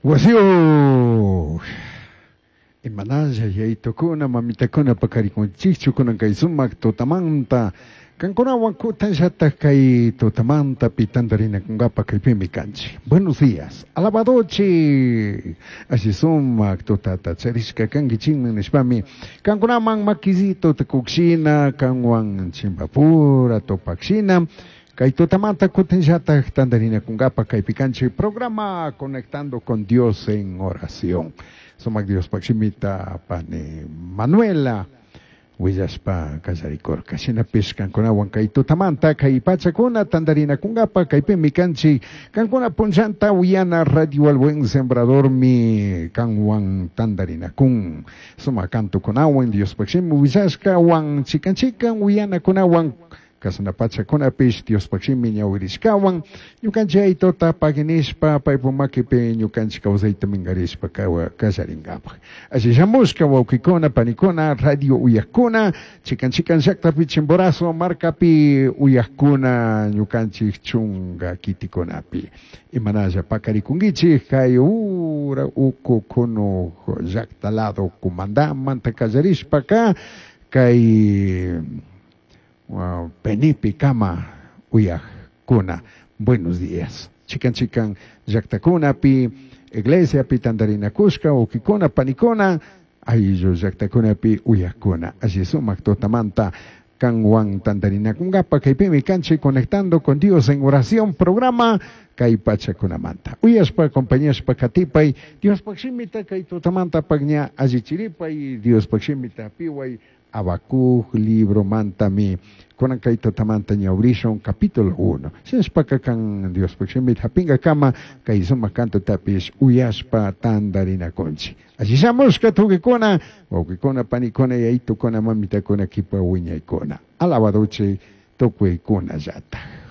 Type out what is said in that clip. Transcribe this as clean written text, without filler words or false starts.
Wasiyuq! Imanalla yayitukuna, mamitakuna paqarikunchikchu kunan kay sumaq tutamanta. Kankunawan kutanllataj kay tutamanta pi tantarinakunkapaj kaypimi kanchik. Buenos días. Alabadochik! Alli sumaq tutata charishka kankichikman nishpami kankunaman makisito tukukshina, kanwan chimpapura tupakshina. Kay tutamanta kutinllataj tantarinakunkapaj kaypi kanchik programa Conectando con Dios en Oración. Sumak Diospaj shimita pani Manuela willashpa kallarikurka. Shinapish kankunawan kay tutamanta kay pachakuna tantarinakunkapaj kaypimi kanchik. Kankuna punllanta uyana Radio El Buen Sembradormi kanwan tantarinakun. Sumak kantukunawan Diospaj shimi willashkawan chikan chikan uyanakunawan Casana pachakunapish Diospaj shimi ñawirishkawan ñukanchik aytuta paginishpa paypuk makipi ñukanchik kawsayta minkarishpa kallaringapaj. Alli shamushka wawkikuna, panikuna, radio uyakkuna, chikan chikan llaktapi Chimborazo markapi uyakkuna ñukanchik chunga kitikunapi. Imanalla pakarikunkichik kay ura uku kunuk llakta lado kumandamanta kallarishpaka kay Penipe kama uyajkuna. Buenos días. Chikan chikan llaktakunapi, iglesiapi tantarinakushka, wawkikuna, panikuna, ayllu llaktakunapi uyajkuna. Alli sumak tutamanta kanwan tantarinakunkapa kaypimi kanchik Conectando con Dios en Oración programa kay pachakunamanta. Uyashpa, acompañashpa katipay, Diospaj shimita kay tutamanta ña allichiripay, Diospaj shimita piway, Habacuc libro mantami kunan kay tutamanta ñawrishun capítulo 1. Shinashpaka kan Diospaj shimita hapingakama kay sumak kantutapish uyashpa tantarinakunchik. Alli shamushka tukikuna, wawkikuna, panikuna, yayitukuna, mamitakuna, kipa wiñaykuna. Alabadochik tukuykunallata.